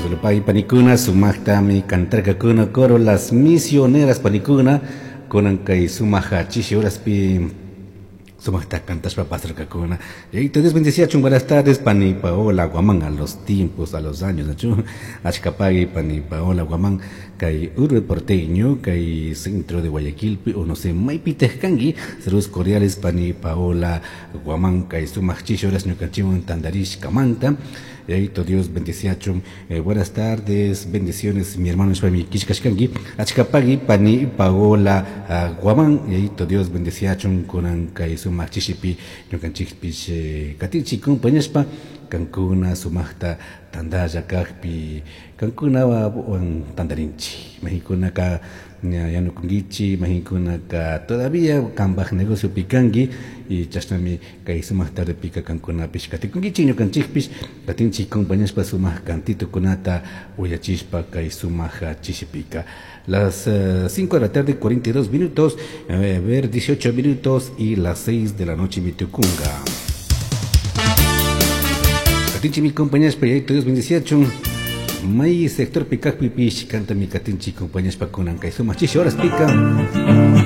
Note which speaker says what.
Speaker 1: Pai panikuna sumaqtami cantarkakuna coro Las Misioneras panikuna kunan kay sumaq chishi horaspi sumaqta cantashpa pasarkakuna. Y Dios bendeciachun. Buenas tardes, pani Paola Guamán, a los tiempos, a los años, nachu achkapagui, pani Paola Guamán, kay urbe porteño, kay centro de Guayaquil, o no sé, maypitaq kanki. Saludos cordiales, pani Paola Guamán, kay sumaq chishi horas ñukanchikwan tantarishkamanta. Yayito Dios bendeciachun. Buenas tardes, bendiciones, mi hermano nishpami killkashkanki. Achkapagui, pani Paola Guamán. Yayito Dios bendeciachun kunan kay sumaq chishipi ñukanchikpish katinchik compañashpa kankuna sumaqta tantalla kajpi kankunawan tantarinchik. Maykunaka yanukunkichik, maykunaka todavía kanpaj negociopi kanki y chashnami kay sumaq tardepika kankunapish katikunkichik, ñukanchikpish katinchik compañashpa sumaq cantitukunata uyachishpa kay sumaq chishipika. Las 5 de la tarde, 42 minutos, a ver, 18 minutos y las 6 de la noche mitukunga. Katinchik mi compañashpa, yayito Dios bendeciachun. May sector kajpipish kantami katinchik compañashpa kunan kay sumaq chishi horaspika.